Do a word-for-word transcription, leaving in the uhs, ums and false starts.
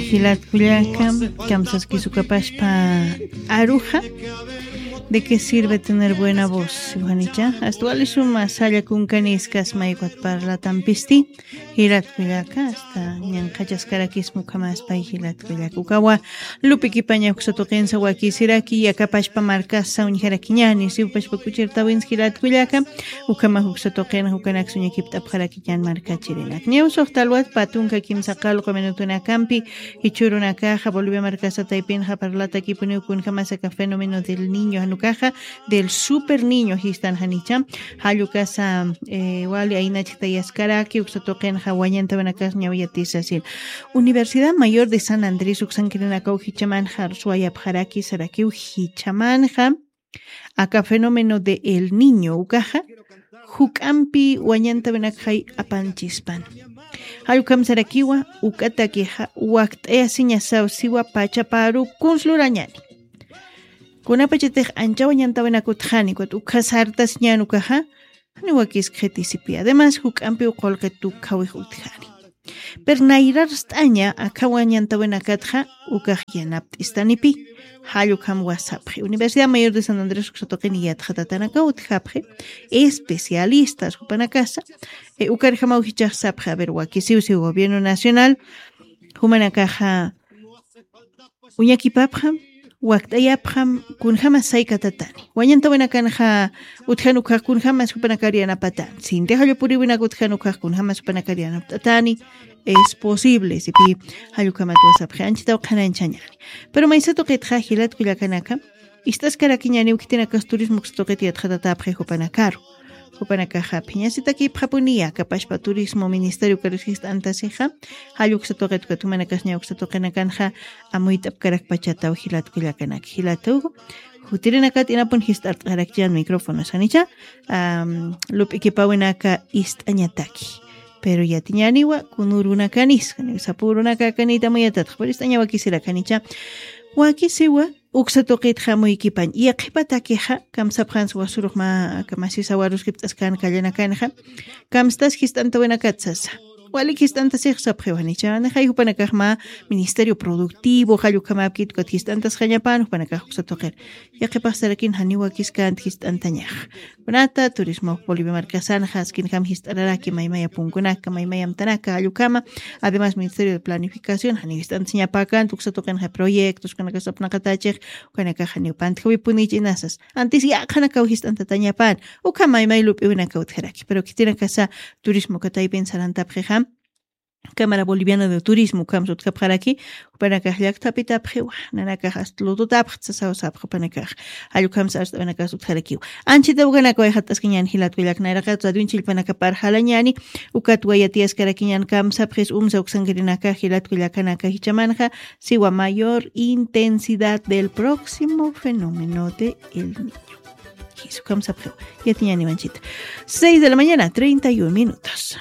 Jilat kullaka, kamsaskis ukapashpa aruxa, ¿de qué sirve tener buena voz? Juanicha, hasta wali suma salla kunkaniskas mayukat parlatampisti, jilat kullaka, hasta ñanqachaskarakismu kamaspay jilat kullaka. Ukawa, lupikipaña uksa tuqinsa wakisiraki, yakapashpa markasa uñjarakiñani, siwpashpa kuchirtawins jilat kullaka, ukama uksa tuqin, ukanak suñakipt'apxaraki. Yan markachirinak. Ñawsuq talwat patunka kimsa qalqu minutunakampi, jichhürunakaxa Bolivia markasa taypinxa parlatakipuniw kunjamasaka fenómeno del niño, janukaxa del super niño jistan janicha. Jallukasa, eh, wali aynachktayaskaraki, uksa tuqinxa wañantawinakas ñawiyatisasil. Universidad Mayor de San Andrés uksankirinakaw jichamanxa, suwayapxaraki sarakiw jichamanxa. Aka fenómeno de El Niño ukaxa, juk'ampi wañantawinakxay apanchispan. Jallukam sarakiwa, ukatakixa, wakt'ayasiñasaw siwa pachaparu kunslurañani. Kunapachatix ancha wañantawinakutxani, ukat ukha sartasiñan ukaxa, jani wakiskxitisipi. Además, juk'ampiw qullqi tukhawix utjani. Pero nayrarst'aña akha wañantawinakatxa ukax yanapt'istanipi, jallukam wasapxi. Universidad Mayor de San Andrés uksa tuqin yatxatatanakaw utjapxi, especialistas jupanakasa, eh, ukarjamaw jichax sapxi, a ver, wakisiwsi gobierno nacional, jumanakaxa uñakipapxam, wakt'ayapxam, kunjamas saykatatani. Wañantawinakanxa utjan ukax kunjamas jupanakar yanapatani. Sinti jallupuriwinak utjan ukax kunjamas jupanakar yanapt'atani. Es posible, sipi jallukamat wasapxi, anchitaw qhanañchañani. Pero maysa tuqitxa jilat kullakanaka, ist'askarakiñaniw khitinakas turismo uksa tuqit yatxatatapxi jupanakaru. Jupanakaxa phiñasitakipxapuniya, kapashpa turismo ministerio ukarus jist'antasixa, jall uksa tuqit ukat jumanakas ña uksa tuqinakanxa amuyt'apkarakpachataw jilat kullakanaka. Jilatuw, jutirinakat inapun jist'art'arakchiñan micrófonos, janicha, am, lup'ikipäwinaka ist'añataki. Pero yatiñaniwa, kunürunakanis, janiw sapürunakakanita amuyatatxa, pero ist'aña wakisirak, janicha, wakisiwa, uksa tuqit jamuykipañ, yaqhipatakixa, kamsapxans wasurux mä, kamasisawarus jipt'askan kallanakanxa, kamstas jist'antawinakat sasa. Walik jist'antasix sapxiw janicha, nixay jupanakax mä ministerio productivo, jallukhamapkit ukat jist'antasxañapan, jupanakax uksa tuqir. Yaqhipax sarakin janiw wakiskant jist'antañax. Kunata, turismo Bolivia markasanxa, askinjam jist'araraki maymaya punkunaka, maymaya amtanaka, jallukama, además Ministerio de Planificación, janiw jist'antañapäkant, uksa tuqinxa proyectos, ukanakax sapnaqatachix, ukanakax janiw pantjawipunichi inasas. Antis yaqhanakaw jist'antatañapan, ukham maymay lup'iwinakaw utjaraki. Pero khitinakasa turismo kataypin sarantapxixam, Cámara Boliviana de Turismo, ukham sutjapxaraki, jupanakax llakthapitapxiwa, nanakax hasta lututapxta sasaw sapxa jupanakax, jall ukham sarst'awinakas utjarakiw. Anchita ukanakaw ayxat'askiñan jilat kullak nayraqat, radioin chillpanakaparxalañani, ukat wayatiyaskarakiñan kamsapxis umsa uksankirinaka jilat kullakanaka jichamanxa, siwa mayor intensidad del próximo fenómeno de El Niño. Jisukham sapxiw, yatiñani manchita. Seis de la mañana, treinta y un minutos.